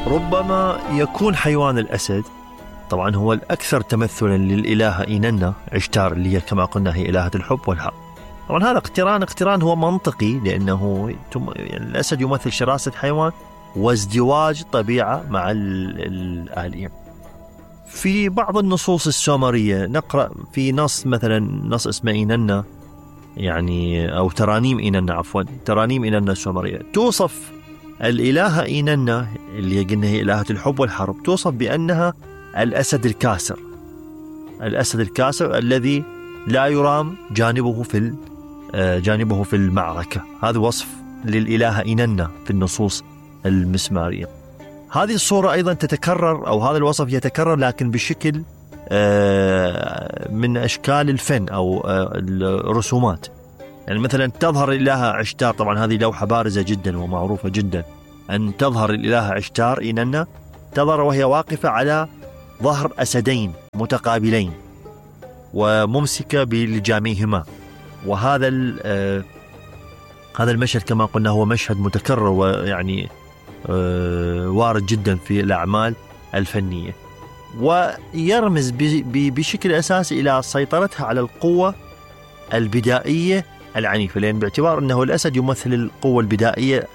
ربما يكون حيوان الأسد، طبعا هو الأكثر تمثلا للإلهة إيننا عشتار اللي هي كما قلنا هي إلهة الحب والحق. طبعا هذا اقتران هو منطقي، لأنه يعني الأسد يمثل شراسة حيوان وازدواج طبيعة مع الآلهة. في بعض النصوص السومرية نقرأ في نص مثلا نص اسمه إيننا، يعني أو ترانيم إيننا، عفوا ترانيم إيننا السومرية، توصف الإلهة إيننا اللي قلنا هي إلهة الحب والحرب، توصف بأنها الأسد الكاسر، الأسد الكاسر الذي لا يرام جانبه في المعركة. هذا وصف للإلهة إيننا في النصوص المسمارية. هذه الصورة أيضا تتكرر، أو هذا الوصف يتكرر لكن بشكل من أشكال الفن أو الرسومات. يعني مثلا تظهر الإلهة عشتار، طبعا هذه لوحة بارزة جدا ومعروفة جدا، أن تظهر الإلهة عشتار إيننا تظهر وهي واقفة على ظهر أسدين متقابلين وممسكة بلجاميهما. وهذا هذا المشهد كما قلنا هو مشهد متكرر ويعني وارد جدا في الأعمال الفنية، ويرمز بشكل أساسي إلى سيطرتها على القوة البدائية العنيفة، لأن باعتبار أنه الأسد يمثل القوة البدائية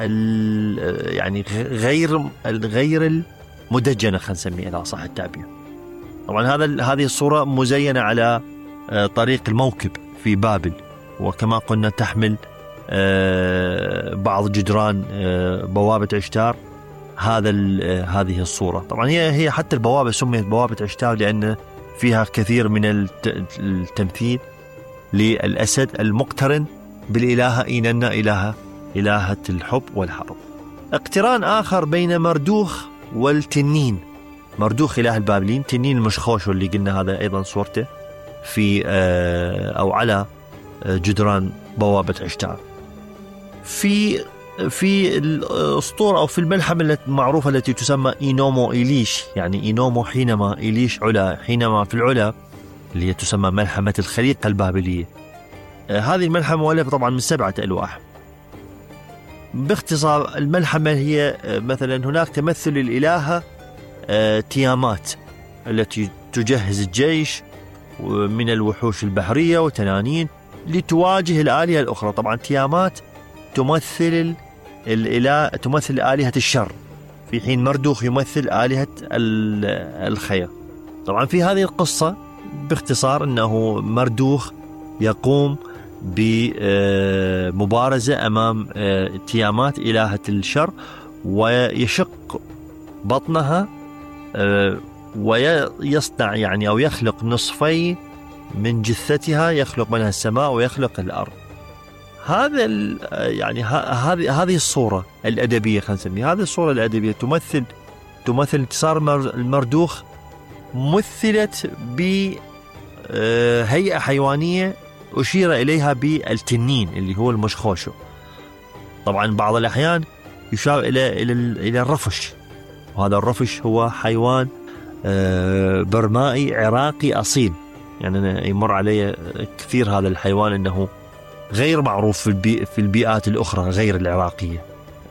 يعني غير المدجنة، خلينا نسميها إذا صح التعبير. طبعا هذه الصورة مزينة على طريق الموكب في بابل، وكما قلنا تحمل بعض جدران بوابة عشتار هذه الصورة. طبعا هي حتى البوابة سميت بوابة عشتار لأن فيها كثير من التمثيل للأسد المقترن بالإلهة إيننا إلهة الحب والحرب. اقتران آخر بين مردوخ والتنين. مردوخ إله البابليين، تنين المشخوش اللي قلنا هذا أيضا صورته في أو على جدران بوابة عشتار. في الأسطورة أو في الملحمة المعروفة التي تسمى إينومو إليش، يعني إينومو حينما، إليش علا، حينما في العلا، اللي هي تسمى ملحمة الخليقة البابلية. هذه الملحمة مؤلفة طبعا من 7 ألواح. باختصار الملحمة هي مثلا هناك تمثل الإلهة تيامات التي تجهز الجيش من الوحوش البحرية وتنانين لتواجه الآلهة الأخرى. طبعا تيامات تمثل آلهة الشر، في حين مردوخ يمثل آلهة الخير. طبعا في هذه القصة باختصار أنه مردوخ يقوم بمبارزة أمام تيامات إلهة الشر، ويشق بطنها ويصنع يعني أو يخلق نصفين من جثتها، يخلق منها السماء ويخلق الأرض. هذا يعني هذه الصورة الأدبية، خلينا نسميها هذه الصورة الأدبية تمثل انتصار المردوخ، مثلت بهيئة حيوانية أشير إليها بالتنين اللي هو المشخوشو. طبعا بعض الأحيان يشار إلى الرفش، وهذا الرفش هو حيوان برمائي عراقي أصيل. يعني أنا يمر علي كثير هذا الحيوان أنه غير معروف في البيئات الأخرى غير العراقية،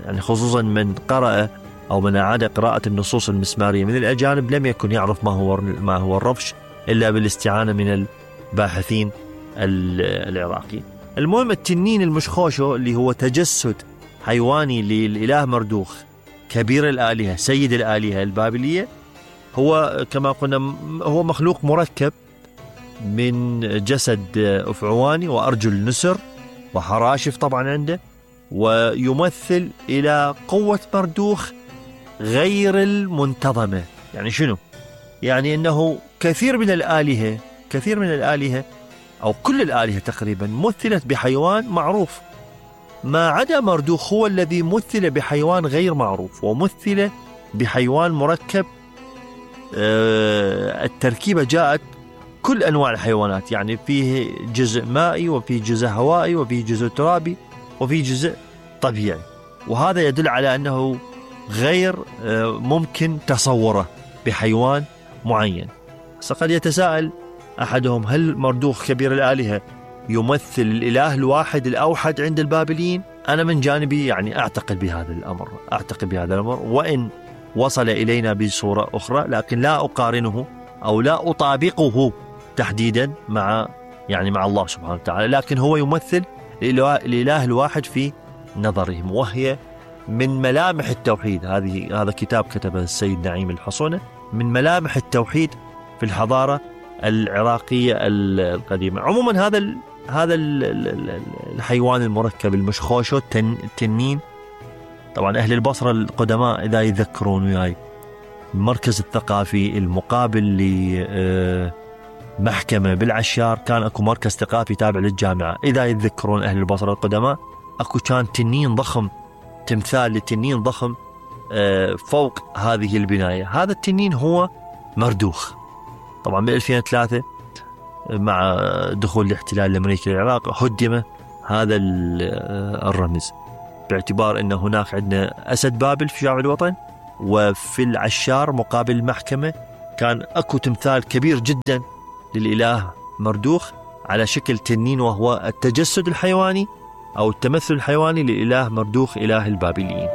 يعني خصوصا من قرأ أو من أعاد قراءة النصوص المسمارية من الأجانب لم يكن يعرف ما هو الرفش إلا بالاستعانة من الباحثين العراقيين. المهم التنين المشخوشو اللي هو تجسد حيواني للإله مردوخ كبير الآلهة سيد الآلهة البابلية، هو كما قلنا هو مخلوق مركب من جسد أفعواني وأرجل نسر وحراشف طبعا عنده، ويمثل إلى قوة مردوخ غير المنتظمة. يعني شنو؟ يعني أنه كثير من الآلهة أو كل الآلهة تقريبا مثلت بحيوان معروف، ما عدا مردوخ هو الذي مثل بحيوان غير معروف، ومثل بحيوان مركب. التركيبة جاءت كل أنواع الحيوانات، يعني فيه جزء مائي وفيه جزء هوائي وفيه جزء ترابي وفيه جزء طبيعي، وهذا يدل على أنه غير ممكن تصوره بحيوان معين. فقد يتساءل أحدهم هل مردوخ كبير الآلهة يمثل الإله الواحد الأوحد عند البابليين؟ أنا من جانبي يعني أعتقد بهذا الأمر، وصل إلينا بصورة أخرى، لكن لا أقارنه أو لا أطابقه تحديدا مع الله سبحانه وتعالى، لكن هو يمثل الإله الواحد في نظرهم، وهي من ملامح التوحيد. هذا كتاب كتبه السيد نعيم الحصونة، من ملامح التوحيد في الحضارة العراقية القديمة. عموما هذا الحيوان المركب المشخوشو التنين، طبعا أهل البصرة القدماء إذا يذكرون وياي المركز الثقافي المقابل لمحكمة بالعشار، كان أكو مركز ثقافي تابع للجامعة. إذا يتذكرون أهل البصرة القدماء أكو كان تنين ضخم، تمثال لتنين ضخم فوق هذه البناية. هذا التنين هو مردوخ. طبعا ب 2003 مع دخول الاحتلال الأمريكي للعراق هدم هذا الرمز، باعتبار أن هناك عندنا أسد بابل في شارع الوطن، وفي العشار مقابل المحكمة كان أكو تمثال كبير جدا للإله مردوخ على شكل تنين، وهو التجسد الحيواني أو التمثل الحيواني للإله مردوخ إله البابليين.